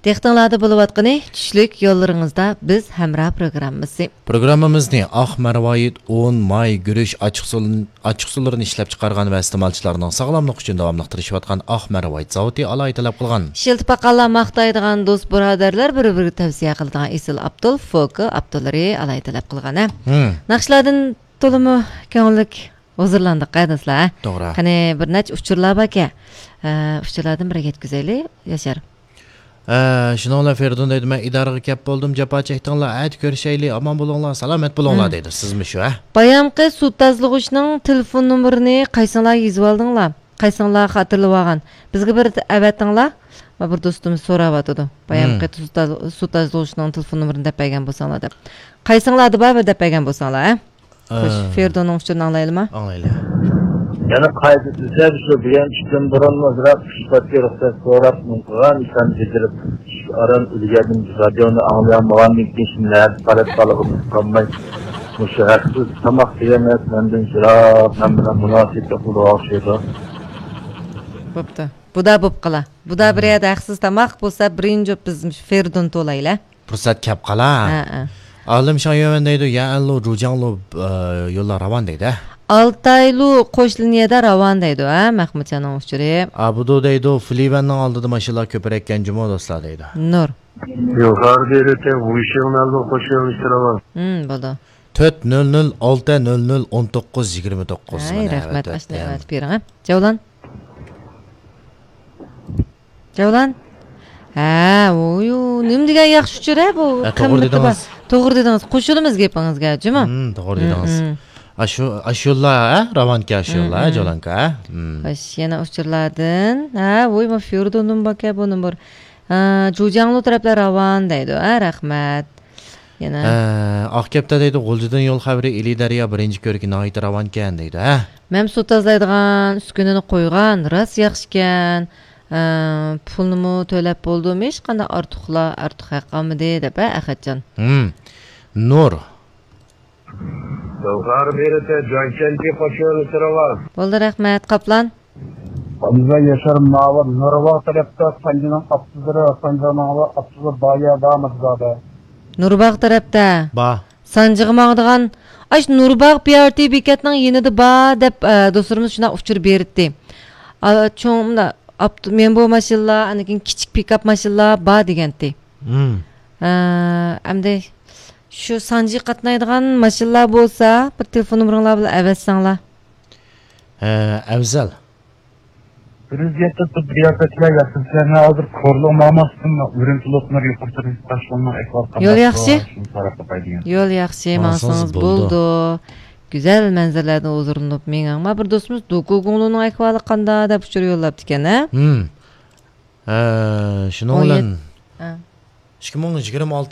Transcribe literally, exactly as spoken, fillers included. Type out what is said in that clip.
دىققىتىڭلاردا بولۇۋاتقىنى چۈشلۈك يوللىرىڭىزدا بىز ھەمراھ پروگراممىسى. پروگراممىمىزنى ئاق مەرۋايىت، ئۇن، ماي، گۈرۈچ، ئاچچىقسۇلىنى ئىشلەپچىقارغان ۋە ئىستېمالچىلارنىڭ ساغلاملىقى ئۈچۈن داۋاملىق تىرىشىۋاتقان ئاق مەرۋايىت زاۋۇتى ئالاھىدە تەلەپ قىلغان. ئىشلىتىپ باققانلار ماختايدىغان، دوست بۇرادەرلەر بىر-بىرىگە تەۋسىيە قىلىدىغان ئېسىل ئاپتول فوكا ئاپتوللىرى ئالاھىدە تەلەپ قىلغان، ھە؟ ھىم. ناخشىلاردىن تولىمۇ كۆڭۈللۈك ھۇزۇرلاندۇق ھە دوستلار، ھە؟ توغرا. قېنى بىر نەچچە ئۇچۇرلار باركەن. ئە، ئۇچۇرلاردىن بىرىگە يەتكۈزەيلى، ياشار. ئە، شۇنىڭ بىلەن فېرىدۇن دەيدۇ، مەن ئىدارىگە كەپ بولدۇم، جاپا چەكتىڭلار، ئەتە كۆرۈشەيلى، ئامان بولۇڭلار، سالامەت بولۇڭلار ھىم. دەيدۇ. سىزمۇ شۇ، ھە؟ بايامقى سۇ تازىلىغۇچنىڭ تېلېفون نومۇرىنى قايسىڭلار يېزىۋالدىڭلار؟ قايسىڭلار خاتىرىلىۋالغان؟ بىزگە بىر ئەۋەتىڭلار. ما بىر دوستىمىز سوراۋاتىدۇ. بايامقى ھىم. سۇ تاز-، سۇ تازىلىغۇچنىڭ تېلېفون نومۇرىنى دەپ بەرگەن بولساڭلار دەپ. قايسىڭلاردا بار بىر دەپ بەرگەن بولساڭلار، ھە؟ خوش، ئە. فېرىدوننىڭ ئۇچۇرىنى ئاڭلايلىما؟ ئاڭلايلى. يەنە قايتا دېسە، شۇ بۈگۈن چۈشتىن بۇرۇنمۇ بىراق ئىش پاتكا رۇخسەت سوراپ نېمە قىلغان ئىشلارنى بېجىرىپ، چۈش ئاران ئۈلگەردىم. رادىيونى ئاڭلىيالمىغاندىن كېيىن شۇنداق قارەپ قالغىلى قالماي، مۇشۇ ھەقسىز تاماق دېگەن نەرسە مەندىن يىراق، مەن بىلەن مۇناسىۋەتلىك بولىدىغان ئوخشايدۇ. بوپتۇ. بۇدا بوپ قالا. بۇدا بىر يەردە ھەقسىز تاماق بولسا، بىرىنچى بىز مۇشۇ فېرىدوننى تولايلى. پۇرسەت كەپ قالا. ھە، ھە. ئالىم شاڭيۈەن دەيدۇ، يەنلۇ، جۇجياڭلۇ، ئە، يوللار راۋان دەيدۇ، ھە؟ ئالتايلۇ قوش لىنىيەدە راۋان دەيدۇ، ھە، مەخمۇتجاننىڭ ئۇچۇرى. ئابىدۇ دەيدۇ، فلىۋەننىڭ ئالدىدا ماشىنىلار كۆپرەككەن جۇمۇ دوستلار دەيدۇ. نۇر. يۇقىرىدا ئېيتىپ، ۋۇيشىڭ مەنلۇ قوش يۆنىلىشى راۋان. ھىم، بولدى. تۆت نۆل نۆل ئالتە نۆل نۆل ئون توققۇز يىگىرمە توققۇز. ھەي، مانا، رەھمەت، ئەۋەت، ئاشۇنداق ئەۋەت. ئەۋەتىپ بېرىڭ، ھە. جەۋلان. جەۋلان. ھە، ۋويۇ، نېمە دېگەن ياخشى ئۇچۇر، ھە، بۇ ھە، توغرا قىممىتى بار. دېدىڭىز. توغرا دېدىڭىز. قوشۇلىمىز گېپىڭىزگە، جۇمۇ؟ ھىم، توغرا ھىم، دېدىڭىز. ھىم. ئاشۇ، ئاشۇ يوللار، ھە، راۋانكەن، ئاشۇ ھىم، يوللار، ھە، ھىم. جولانكا، ھە؟ ھىم. خوش، يەنە ئۇچۇرلاردىن. ھە، ۋوي، ما فيوردوننىڭ باركەن بۇ نومۇر. ھە، جۇجياڭلۇ تەرەپلەر راۋان دەيدۇ. ھە، رەھمەت. يەنە. ئە، ئاق كەپتەر دەيدۇ، غۇلجىدىن يول خەۋىرى، ئىلى دەريا بىرىنچى كۆركى ناھايىتى راۋانكەن دەيدۇ، ھە؟ مەن سۇ تازىلايدىغان ئۈسكۈنىنى قويغان، راست ياخشىكەن. ئە، پۇلنىمۇ تۆلەپ بولدۇم، ھېچقانداق ئارتۇقلا-، ئارتۇق ھەق قالمىدى، دەپ، ھە، ئەخەتجان. ھىم. نۇر. بولدى، رەھمەت، قاپلان. ئابدۇزا ياشار ماۋۇ نۇرباغ تەرەپتە سانجىنىڭ ئاپتوبۇسلىرى، سانجىنىڭ ئاپتوبۇسى بايا بارمىدى زادى؟ نۇرباغ تەرەپتە. بار. سانجىغا ماڭىدىغان، ئاش نۇرباغ پى ئار تى بېكەتنىڭ يېنىدا بار دەپ، ئە، دوستلىرىمىز شۇنداق ئۇچۇر بېرىتتى. ئا، چوڭ، مۇنداق، ئاپت-، مەن بۇ ماشىنىلار، ئاندىن كېيىن كىچىك پىكاپ ماشىنىلار بار دېگەنتى. ھىم. ئە، ئەمدى شۇ سانجىغا قاتنايدىغان ماشىنىلار بولسا، بىر تېلېفون نومۇرۇڭلار بىلەن ئەۋەتسەڭلار. ئە، ئەۋزەل. بىر يۈز يەتتە تۆت رىياسەتچىلەر ياخشى، سىلەرنى ھازىر كورلىغا ماڭماستىن ئۈرۈمچى لوپنۇر يۇقىرى تۇرۇش تاشيولىنىڭ ئەھۋالى قانداق يول ياخشى؟ شۇنى سوراپ باقاي دېگەن. يول ياخشى، ماڭسىڭىز ماڭسىڭىز بولىدۇ. بولىدۇ. گۈزەل مەنزىرىلەردىن ھۇزۇرلىنىپ مېڭىڭ. ما بىر دوستىمىز دوكۇگۇڭلۇنىڭ ئەھۋالى قانداق دەپ ئۇچۇر يوللاپتىكەن، ھە؟ ھىم. ھە، شۇنىڭ ئون يەتتە بىلەن ھە. ئىككى مىڭ يىگىرمە ئالتە